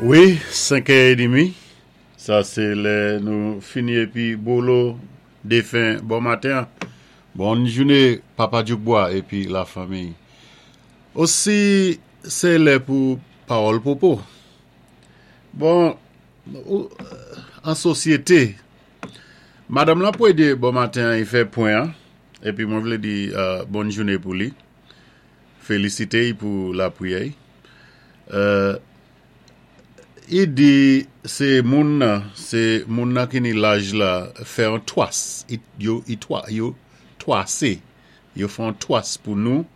Wi, 5 è edmi, sa sé lè nou fini épi bolo défen bon maten an. Bòn jouné Papa Dyoukbwa épi la fanmiy. Osi sé lè pou pawòl pwopo. Bon, an sosyété, madanm lan pwédé bon maten an i fè pwen an, épi mwen vlé di bòn jouné pou li. Felisite y pou lapriyè y. I di se moun nan, se moun nan ki ni laj la fè yon twas, yo yo twase, yo fè yon twas pou nou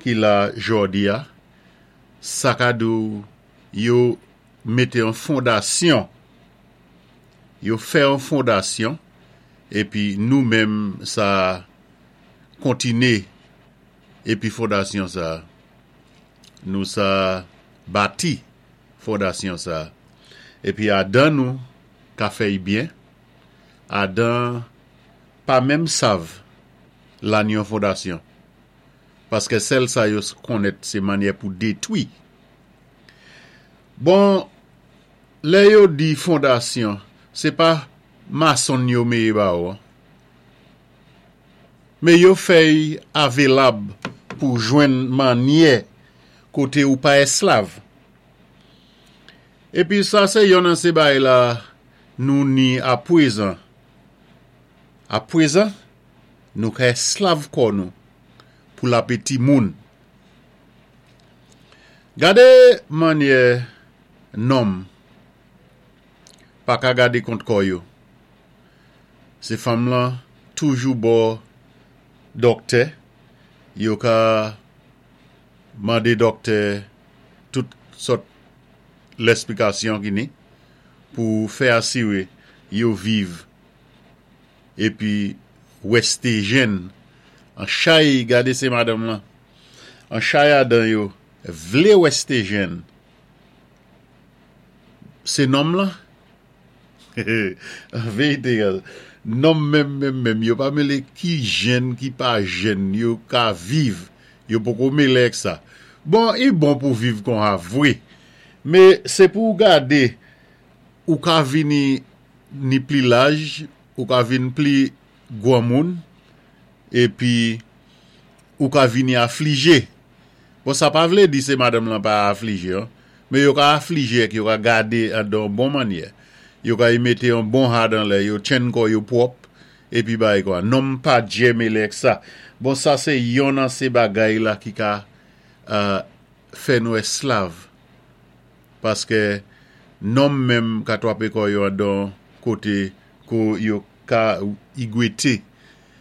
ki la jòdi a, sa ka di w yo mete yon fondasyon, yo fè yon fondasyon epi nou menm sa kontine Epi fondasyon sa a, nou sa bati fondasyon sa a. Epi Adan nou ka fè y byen, Adan pa menm sav lan yon fondasyon. Paske sèl sa yo konnèt se mannyè pou detwi. Bon, lè yo di fondasyon, se pa masonn yo meye ba ou an. Men yo fèy avelab pou jwenn mannyè koté ou pa èslav. Épi sa sé yonn nan sé bagay la nou ni apwézan. Apwézan, nou ka èslav kò nou pou lapeti moun. Gadé mannyè nonm pa ka gadé kont kò yo. Se fanm lan toujou bò dòktè, yo ka mande dòktè tout sòt lèsplikasyon ki ni pou fè asire yo viv epi weste jenn an chay gade se madanm lan an chay adan yo vle weste jenn se nonm lan. An verite, nonm menm menm menm, yo pa mele ki jenn ki pa jenn, yo ka viv, yo poko mele ak sa. Bon, i bon pou viv konha vwe, me se pou ou gade, ou ka vini ni pli laj, ou ka vin pli gwanmoun, epi ou ka vini aflije. Bon sa pa vle di se madanm lan pa aflije an, men yo ka aflije ek yo ka gade an dan bon mannyè. Yo ka y mete yon bon had anlè, yo tchenn kò yo pwòp, epi bay kwa. Nonm pa djè mele ek sa. Bon sa se yonn an se bagay la ki ka fè nou èslav. Paske nonm menm ka twape kò yo an dan kote ko yo ka y gwete.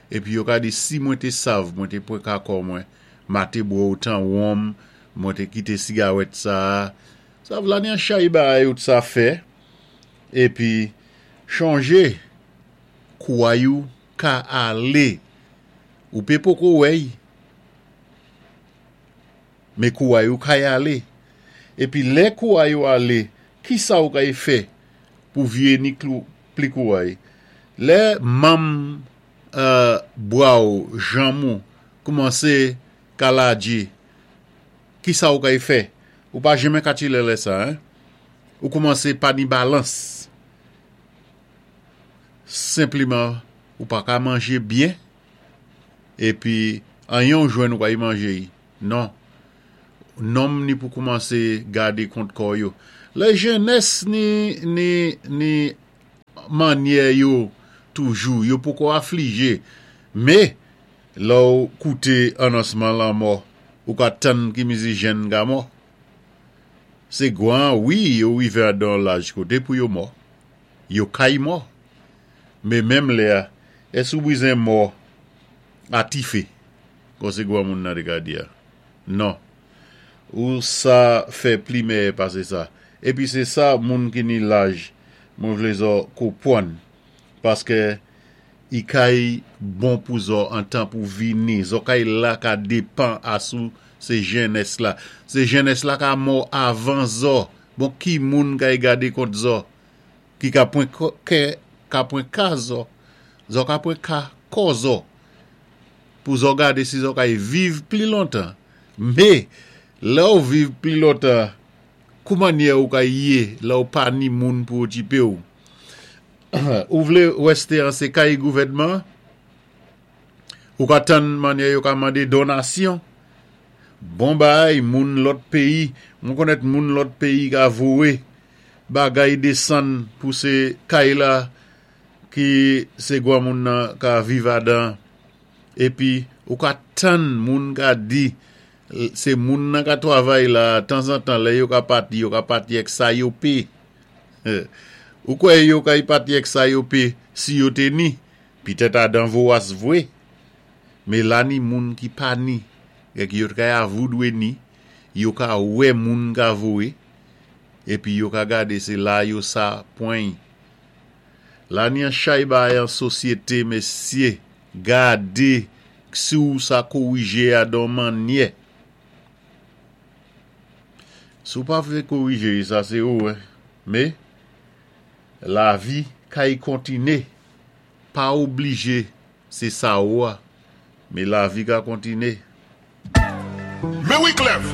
Epi yo ka di si mwen te sav mwen te pwen ka kò mwen. Ma te bwè otan wonm, mwen te kite sigarèt sa a. Sa vla ni an chay bagay ou t sa fè. Epi, chonje, kouway ou ka ale. Ou pe poko wè y. Men kouway ou kay ale. Epi lè kouway ou ale, kisa ou kay fè pou vye ni pli kouway? Lè manm bra ou, janm ou, koumanse ka ladji, kisa ou kay fè? Ou pa jenmen ka chile lè sa, hein? Ou koumanse pa ni balans. Senpliman, ou pa ka manje byen, epi anyen ou jwenn ou pa y manje y. Non. Nonm ni pou koumanse gade kont kò yo. Lè jenès ni, ni, ni mannyè yo toujou, yo poko aflije. Me, lè w koute anonsman lanmò, ou ka tann ki mizi jenn ka mò. Se gwan wi yo rive andan yon laj kote pou yo mò. Yo kay mò. Me menm lè a, èske ou bizen mò a tife, kon se granmoun nan te ka di a? Non. Ou sa fè pli mèyè pase sa. Epi se sa moun ki ni laj mwen vle zò kopwann. Paske i kay bon pou zò antan pou vini. Zò kay la ka depan asou se jennès la. Se jennès la ka mò avan zò. Bon ki moun kay gade kont zò? Ki ka pwen kè ka pwen ka zò. Zò ka pwen ka kò zò. Pou zò gade si zò kay viv pli lontan. Me, lè ou viv pli lontan. Kou mannyè ou ka yé la ou pa ni moun pou okipé ou? Ou vlé wèsté an sé kay gouvèdman? Ou ka tann mannyè yo ka mandé donasyon? Bon baay moun lòt péyi, mwen konnèt moun lòt péyi ka vowé bagay desann pou sé kay la ki sé gwanmoun nan ka viv adan. Épi ou ka tann moun ka di sé moun nan ka twavay la tanzantan lè yo ka pati yo ka pati èk sa yo pé. Ou kwè yo kay pati èk sa yo pé si yo té ni? Pitèt adan vowas vwé. Mé la ni moun ki pa ni èk yo t kay avoudwé ni yo ka wè moun ka vowé épi yo ka gadé sé la yo sa pweny. La ni an chay baay an sosyété mesyé gadé si ou sa kowijé a don mannyè. Si ou pa vlé kowijé sa sé ou hein mé lavi kay kontiné pa oblijé sé sa ou a mé lavi ka kontiné. Men Wiclef!